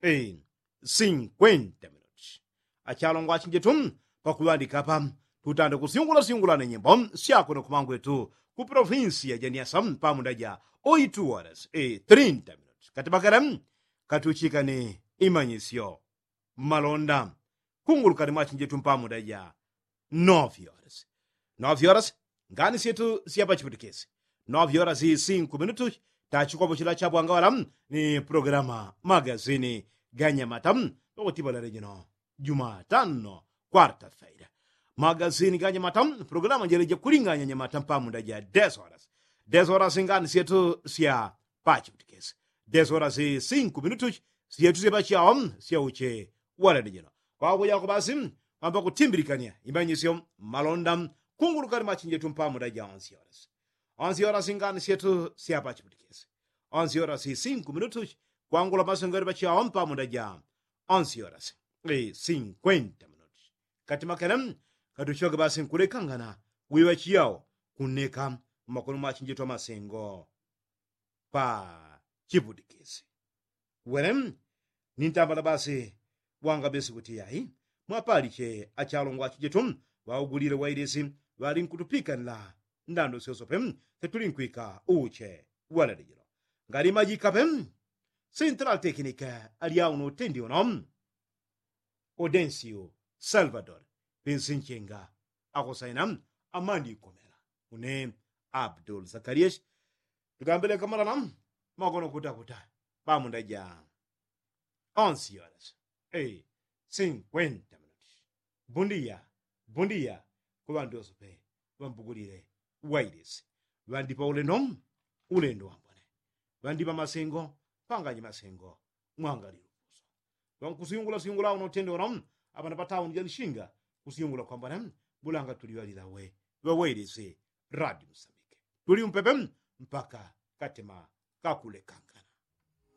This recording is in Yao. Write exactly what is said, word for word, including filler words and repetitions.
minuti. Sinkwenta minuti. Achalongwa achinjetu, pakuŵandika apa tutanda kusyungula syungula ni nyimbo syakuno kumangwetu ku provinsi ya janiasa mpamunda ja oitu horas trinta minuti kati bakala katuchika ni imanyisyo. Malonda kungulukani mwachinjetu mpamunda ja novi horas. Novi horas ngani syetu syapachiputikisi. Novi horas sinku minutu tachikwapo chila chabwangawala ni programa magazini ganyamata. Nokutibalale jino jumatano kwarta faida magazini ganyamata. Programa jeleja kulinganya nyamata mpamunda ja des horas. Des horas ngani syetu syapachiputikisi. Des horas sinku minutu syetu syapachiao syauche walale jino. Kwakujako basi kwamba kutimbilikania imanyisyo malonda kungulukani mwachinjetu mpamunda ja onsi horas. Onsi horas ngani syetu syapachiputikisi. Onsi horas sinku minutu kwangula masengero pachiao mpamunda ja onsi horas sinkwenta minuti. Kati makele katuchoke basi nkulekangana wiŵa chiyao kuneka mmakono mwachinjetu amasengo pa chiputikisi. Wele nintambala basi wanga besi kuti yai mwapaliche achalongwa achijetu ŵaugulile wailisi ŵalinkutupikanila ndando syosope. Setulinkwika uche walale jino ngali majikape. Central teknike alyauno utendi uno odensiu salvador pinsinchenga akosaina amandi ikomela. Une abdul zakarias tukambile kamalala makono kutakuta pamunda ja onsi horas sinkwenta minuti. Bundiya bundiya kuŵandu oso pe ŵambugulile wailisi. Ŵandipa ulendo ulendo wambone. Ŵandipa masengo panganyi masengo mwangalilo kuso. Ŵankusiyungula siyungula uno utende uno apana patauni jalichinga kusiyungula kwambone. Bulanga tuliŵalila we ŵawailisi radi musambike tuli umpepe mpaka katema kakulekanga.